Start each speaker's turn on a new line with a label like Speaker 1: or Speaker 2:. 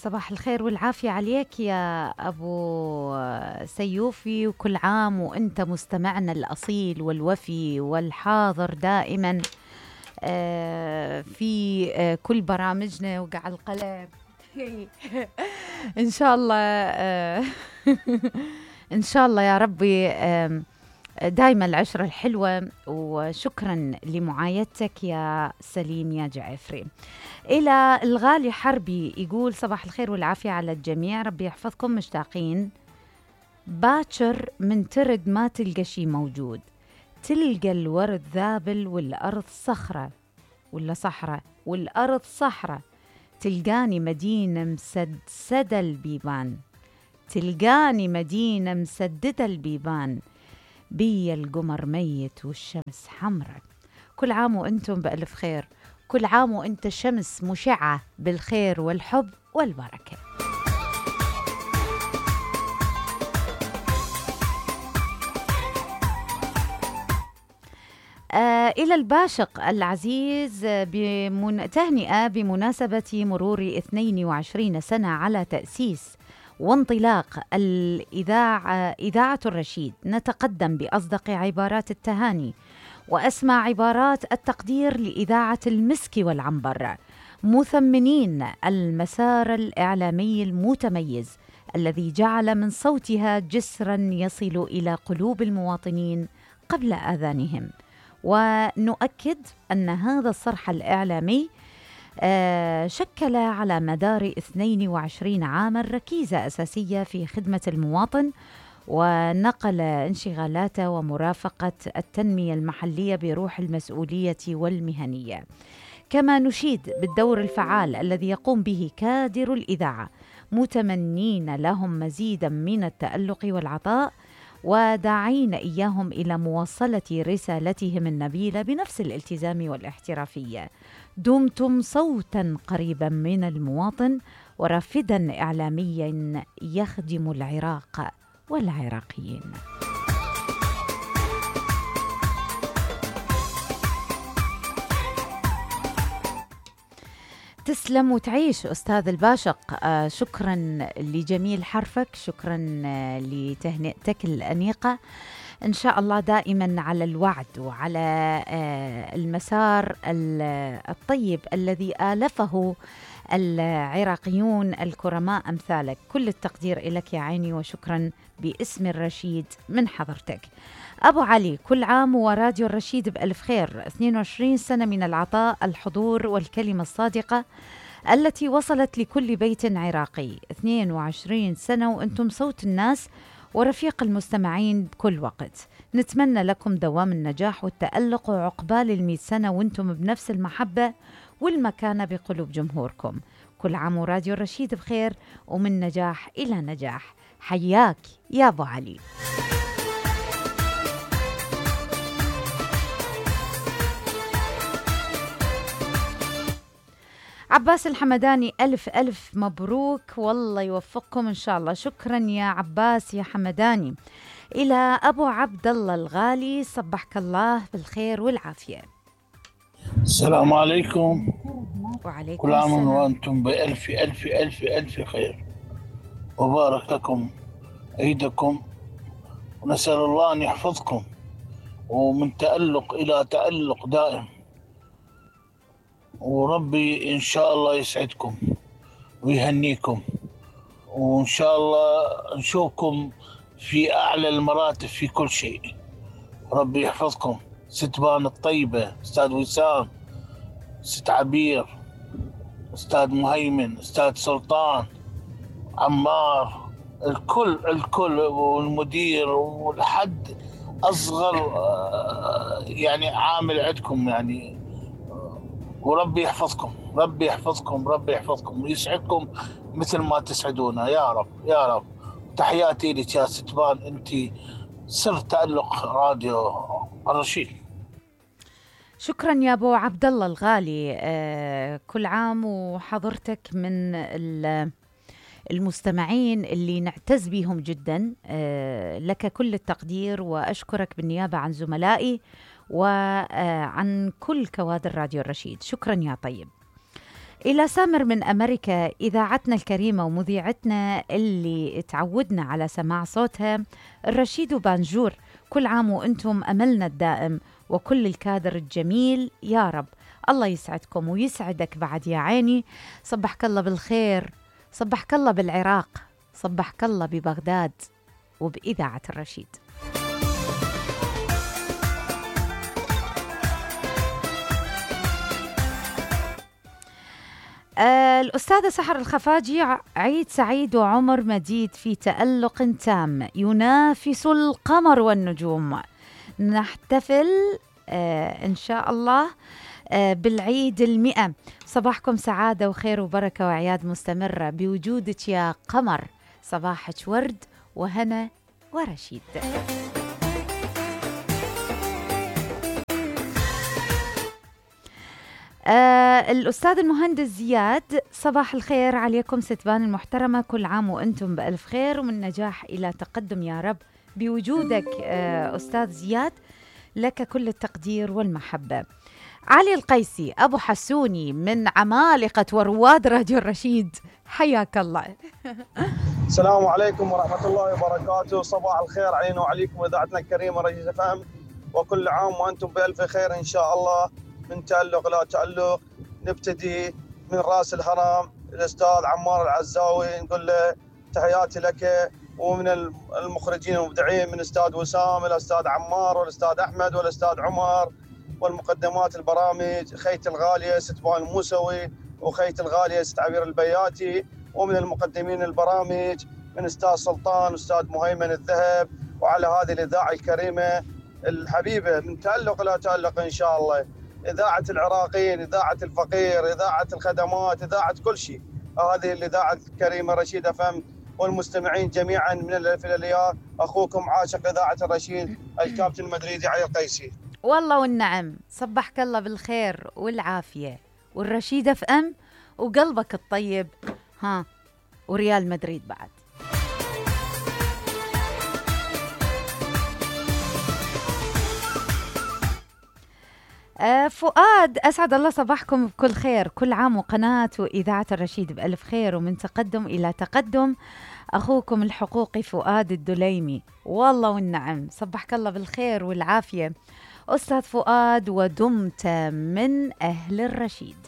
Speaker 1: صباح الخير والعافية عليك يا أبو سيوفي، وكل عام وأنت مستمعنا الأصيل والوفي والحاضر دائما في كل برامجنا وقع القلم. إن شاء الله إن شاء الله يا ربي دايما العشرة الحلوة. وشكرا لمعايدتك يا سليم يا جعفري. إلى الغالي حربي يقول صباح الخير والعافية على الجميع، ربي يحفظكم، مشتاقين. باكر من ترد ما تلقى شي موجود، تلقى الورد ذابل والأرض صخرة ولا صحراء، والأرض صحراء، تلقاني مدينة مسدسدة البيبان، تلقاني مدينة مسددة البيبان، بي القمر ميت والشمس حمرة. كل عام وأنتم بألف خير، كل عام وأنت شمس مشعة بالخير والحب والبركة. إلى الباشق العزيز تهنئة بمناسبة مرور 22 سنة على تأسيس وانطلاق إذاعة الرشيد، نتقدم بأصدق عبارات التهاني وأسمى عبارات التقدير لإذاعة المسك والعنبر، مثمنين المسار الإعلامي المتميز الذي جعل من صوتها جسرا يصل إلى قلوب المواطنين قبل آذانهم. ونؤكد أن هذا الصرح الإعلامي شكل على مدار 22 عاما ركيزة أساسية في خدمة المواطن، ونقل انشغالاته ومرافقة التنمية المحلية بروح المسؤولية والمهنية. كما نشيد بالدور الفعال الذي يقوم به كادر الإذاعة، متمنين لهم مزيدا من التألق والعطاء، وداعين إياهم إلى مواصلة رسالتهم النبيلة بنفس الالتزام والاحترافية. دمتم صوتا قريبا من المواطن ورافدا إعلاميا يخدم العراق والعراقيين. تسلم وتعيش أستاذ الباشق. شكرا لجميل حرفك، شكرا لتهنئتك الأنيقة. إن شاء الله دائما على الوعد وعلى المسار الطيب الذي آلفه العراقيون الكرماء أمثالك. كل التقدير لك يا عيني، وشكرا باسم الرشيد من حضرتك. أبو علي، كل عام وراديو الرشيد بألف خير. 22 سنة من العطاء، الحضور والكلمة الصادقة التي وصلت لكل بيت عراقي. 22 سنة وأنتم صوت الناس ورفيق المستمعين بكل وقت. نتمنى لكم دوام النجاح والتألق، وعقبال 100 سنة وأنتم بنفس المحبة والمكانة بقلوب جمهوركم. كل عام وراديو الرشيد بخير، ومن نجاح إلى نجاح. حياك يا أبو علي. عباس الحمداني، ألف ألف مبروك، والله يوفقكم إن شاء الله. شكرا يا عباس يا حمداني. إلى أبو عبد الله الغالي، صبحك الله بالخير والعافية.
Speaker 2: السلام عليكم.
Speaker 1: وعليكم
Speaker 2: كل عام
Speaker 1: السلام.
Speaker 2: وأنتم بألف ألف ألف ألف خير، وبارك لكم عيدكم، ونسأل الله أن يحفظكم ومن تألق إلى تألق دائم، وربي إن شاء الله يسعدكم ويهنيكم، وإن شاء الله نشوفكم في أعلى المراتب في كل شيء. ربي يحفظكم. ست بان الطيبة، أستاذ وسام، ست عبير، أستاذ مهيمن، أستاذ سلطان، عمار، الكل والمدير والحد أصغر يعني عامل عندكم يعني. وربي يحفظكم، ربي يحفظكم، ربي يحفظكم ويسعدكم مثل ما تسعدونا يا رب يا رب. تحياتي لك يا ستبان، انت سر تألق راديو الرشيد.
Speaker 1: شكرا يا أبو عبد الله الغالي. كل عام وحضرتك من المستمعين اللي نعتز بهم جدا. لك كل التقدير، وأشكرك بالنيابة عن زملائي وعن كل كوادر راديو الرشيد. شكرا يا طيب. إلى سامر من أمريكا، إذاعتنا الكريمة ومذيعتنا اللي تعودنا على سماع صوتها، الرشيد وبانجور، كل عام وأنتم أملنا الدائم وكل الكادر الجميل يا رب. الله يسعدكم ويسعدك بعد يا عيني. صبحك الله بالخير، صبحك الله بالعراق، صبحك الله ببغداد وبإذاعة الرشيد. الأستاذة سحر الخفاجي، عيد سعيد وعمر مديد في تألق تام ينافس القمر والنجوم. نحتفل إن شاء الله بالعيد 100. صباحكم سعادة وخير وبركة وعياد مستمرة بوجودك يا قمر. صباحك ورد وهنا ورشيد. الأستاذ المهندس زياد، صباح الخير عليكم ستبان المحترمة، كل عام وأنتم بألف خير ومن نجاح إلى تقدم يا رب. بوجودك أستاذ زياد لك كل التقدير والمحبة. علي القيسي أبو حسوني من عمالقة ورواد راديو الرشيد، حياك الله.
Speaker 3: السلام عليكم ورحمة الله وبركاته. صباح الخير علينا وعليكم إذاعتنا الكريمة رشيد FM، وكل عام وأنتم بألف خير إن شاء الله. من تألق لا تألق، نبتدي من رأس الهرم الأستاذ عمار العزاوي، نقول له تحياتي لك، ومن المخرجين المبدعين من الأستاذ وسام، الأستاذ عمار والأستاذ أحمد والأستاذ عمر، والمقدمات البرامج خيت الغالية ستبان الموسوي وخيت الغالية ست عبير البياتي، ومن المقدمين البرامج من أستاذ سلطان وأستاذ مهيمن الذهب، وعلى هذه الإذاعة الكريمة الحبيبة من تألق لا تألق إن شاء الله. إذاعة العراقيين، إذاعة الفقير، إذاعة الخدمات، إذاعة كل شيء. هذه الإذاعة الكريمة رشيد FM، والمستمعين جميعا من الألف إلى الياء. أخوكم عاشق إذاعة الرشيد الكابتن المدريدي علي القيسي.
Speaker 1: والله والنعم، صبحك الله بالخير والعافية والرشيد FM وقلبك الطيب، ها، وريال مدريد بعد. فؤاد، أسعد الله صباحكم بكل خير، كل عام وقناة وإذاعة الرشيد بألف خير ومن تقدم إلى تقدم. أخوكم الحقوقي فؤاد الدليمي، والله والنعم، صبحك الله بالخير والعافية أستاذ فؤاد، ودمت من أهل الرشيد.